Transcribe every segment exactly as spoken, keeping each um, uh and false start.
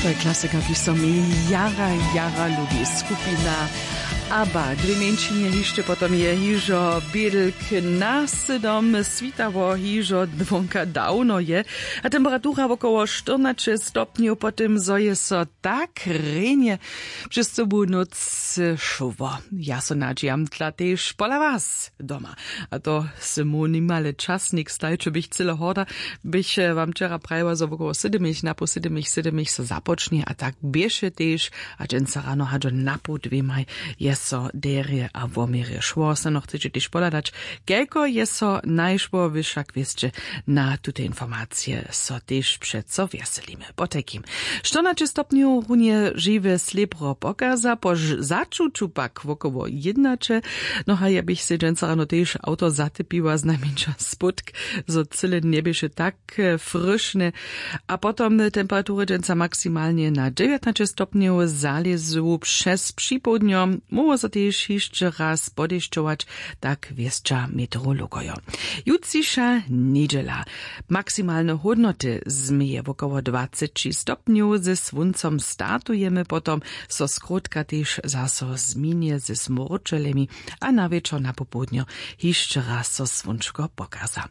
To je klasika, kiž so mi jara jara lubi, skupina. Abba, dwě mjeńšinje hišće potom je hižo bědlk na sydom switało hižo dwonka dawno je. A temperatura wokoło štyrnaće stopnjow po tym zo je so tak rjenje přez cyłu nóc šło. Ja so nadźijam dla tež pola was doma. A to sy mój nimale časnik stajče bych cyle horda, bych wam wčera prajiła zo wokoło sydomich napoł sydomich sydomich so započnje a tak běše tež. A dźensa rano hadźo napoł dwěmaj je so derje a woměrje šło seno chceće tež pohladać, kelko je so najšło wy wšak wěsće. Na tute informacije so tež přeco wjeselimy. Potajkim štyrnaće stopnjow runje žiwe slěbro pokaza po začuću pak wokoło jědnaće. No a ja bych sej dźensa rano tež awto zatypiła znajmjeńša spódk, zo cyle njeběše tak fryšne. A potom temperatury dźensa maksimalnje na dźewjatnaće stopnjow zalězu přez připołdnjo móhło so tež hišće raz podešćować. Tak wěsća meteorologojo. Jutřiša njedźela. Maksimalne hódnoty změje wokoło dwaceći stopnjow ze słóncom startujemy potom so skrótka tež zaso změnje ze smórčelemi. A na wječor na popołdnjo hišće raz so słónčko pokaza.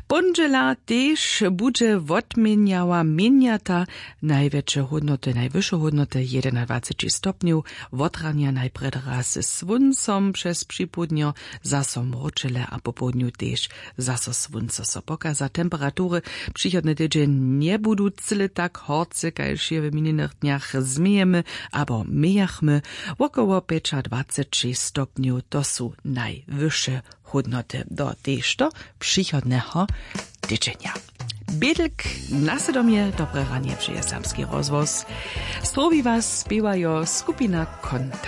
Póndźela tež budźe wotměnjała měnjata. Najwjetše hódnoty najwyše hódnoty jedenadwaceći stopnjow. Wotranja najprjedy raz ze słóncom přez připołdnjo zaso mróčele a popołdnju tež zaso słónco so pokaza temperatury přichodny tydźeń njebudu cyle tak horce kaž je w minjenych dnjach změjemy abo mějachmy. Wokoło pjećadwaceći stopnjow to su najwyše hódnoty do tež do přichodneho tydźenja. Bědlk na sydomje dobre ranje přeje serbski rozhłos. Strowi was spěwajo skupina kontakt.